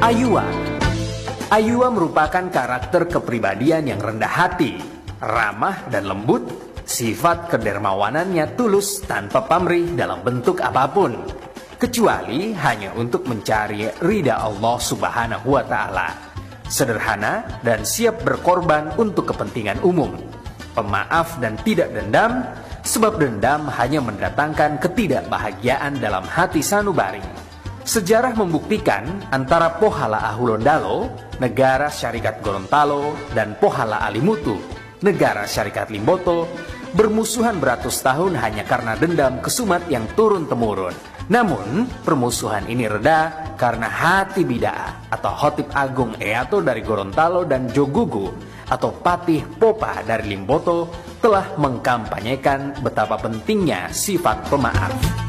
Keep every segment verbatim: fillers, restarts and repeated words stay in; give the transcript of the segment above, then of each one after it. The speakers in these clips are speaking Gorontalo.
Ayuwa. Ayuwa merupakan karakter kepribadian yang rendah hati, ramah dan lembut, sifat kedermawanannya tulus tanpa pamrih dalam bentuk apapun, kecuali hanya untuk mencari ridha Allah Subhanahu wa Ta'ala. Sederhana dan siap berkorban untuk kepentingan umum. Pemaaf dan tidak dendam, sebab dendam hanya mendatangkan ketidakbahagiaan dalam hati sanubari. Sejarah membuktikan antara Pohala Ahulondalo, negara Syarikat Gorontalo, dan Pohala Alimutu, negara Syarikat Limboto, bermusuhan beratus tahun hanya karena dendam kesumat yang turun-temurun. Namun, permusuhan ini reda karena hati bida'a atau Hotip Agung Eato dari Gorontalo dan Jogugu atau Patih Popa dari Limboto telah mengkampanyekan betapa pentingnya sifat pemaaf.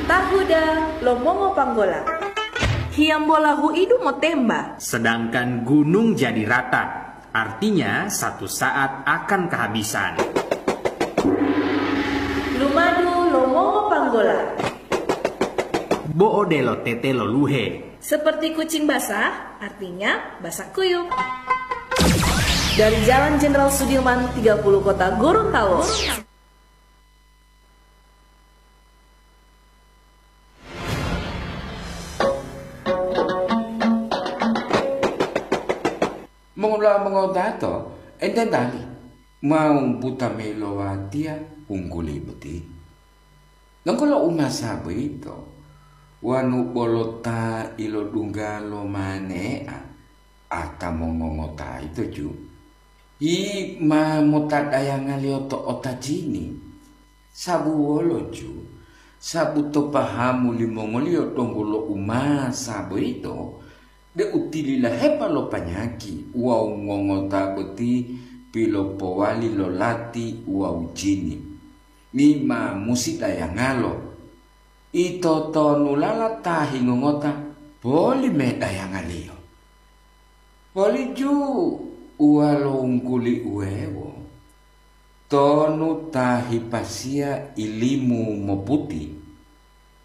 Tahuda lo mongo panggola. Hiyambola huidu motemba. Sedangkan gunung jadi rata, artinya satu saat akan kehabisan. Lumadu lo mongo panggola. Bo'o delo tete lo luhe. Seperti kucing basah, artinya basah kuyup. Dari Jalan Jenderal Sudirman tiga puluh Kota Gorontalo. Mongola mongotato, enten tali, mau buta mayi lo watiya ungguli boti. Donggo lo umasa boyito, wanu bolo ta ilodungga lo mane'a, ata mongongota yito ju, yi ma motadayangaliyo to otajini. Sabu wolo ju? Sabu to pahamu limongoliyo donggo lo umasa boyito, deu tililahepa lo panyaki wawu ngongota boti pilopowali lo lati wawu jini. Ni ma musi dayangalo. Ito tonulala ta hingongota poli medayangaliyo. Poli ju uwalongguli uwewo, tonu ta hipasiya ilimu moputi,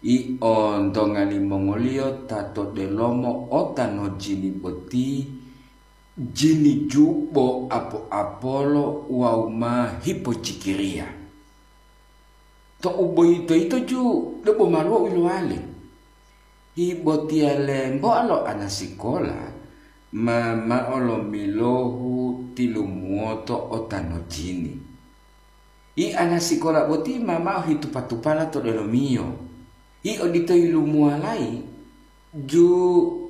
i ontonga limongoliyo ta to delomo ota no jini boti, jini jubo apo-apolo wawu ma hipojikiriya. To'u boyito yito ju debo maluwo u yiluwale. Hibotiyale mboa lo anasikola ma mao lomilohu tilumuwoto ota no jini. I anasikola boti ma mao hitupa-tupala to delomiyo. I odito yilumuwalayi ju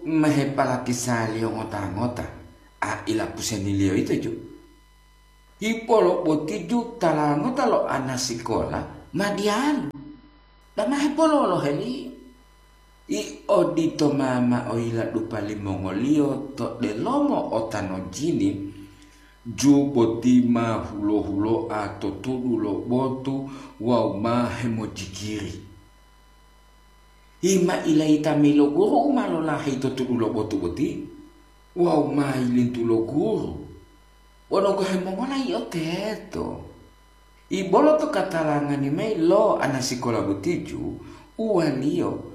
ma heparakisaliyo ngota-ngota, a ilapuseniliyo yito ju. Hipolo boti ju tala ngota lo anasikola ma diyalu, dama hepololoheliyo. I odito ma mao yiladupa limongoliyo to delomo ota no jini, ju boti ma hulo-huloa to tudu lo botu wawu ma hemojikiri. Hima ilayita mayi lo guru u ma lolaheyi to tudu lo botu boti wawu ma yilintu lo guru. Wonu gohe mongola yio teto? Ibolo to katalangani mayi lo anasikola boti ju uwaliyo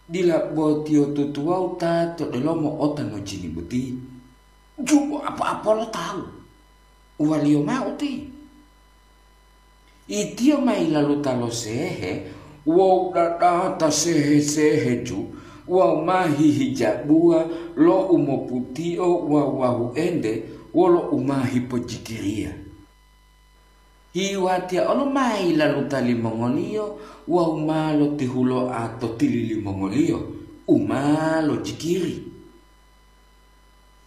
dila botiyo tutuwawu ta to delomo ota no jini boti. Jubo apo-apolo tawu, uwaliyo mao uti. Itiyo ma yilaluta lo sehe wawu dadata sehe-sehe ju wawu ma hihijabuwa lo u moputio wawu wahuente wolo u ma hipojikiriya. Hiwatiya olo ma yilaluta limongoliyo wawu ma lotihuloa to tili limongoliyo u ma lojikiri.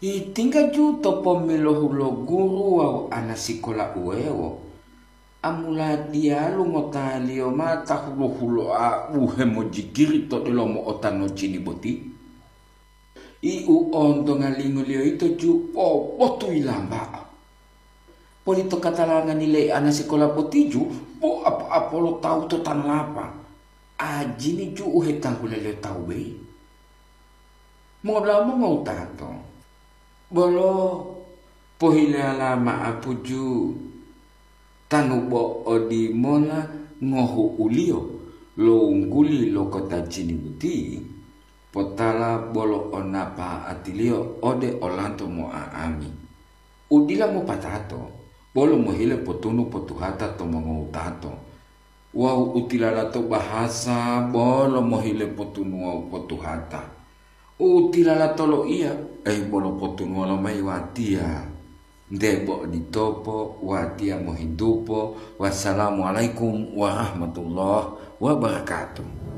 Yitingga ju to pomilohu lo guru wawu anasikola uwewo, amuladiyalu ngotaliyo ma ta hulo-huloa u hemojikiri to delomo ota no jini boti. I u ontongalingoliyo yito ju pobotu yilamba'a. Poli to katalangani le anasikola boti ju po apo-apolo tawu to tanolapa. Ajini ju u hetanggulaliyo tawu beyi. Mola mongowutato, bolo pohilala ma'apu ju tanu bo odimola ngohu'uliyo lo wungguli lo kota Jini boti, potala bolo onapa'atiliyo ode olanto mo'a'ami. U dila mopatato, bolo mohile potunu potuhata to mongowutato, wawu u tilalato bahasa bolo mohile potunu wawu potuhata. U tilalato loiya, ei bolo potunuwa lomayi watiya. Nte bo oditopo, watiya mohintupo. Wassalamualaikum warahmatullahi wabarakatuh.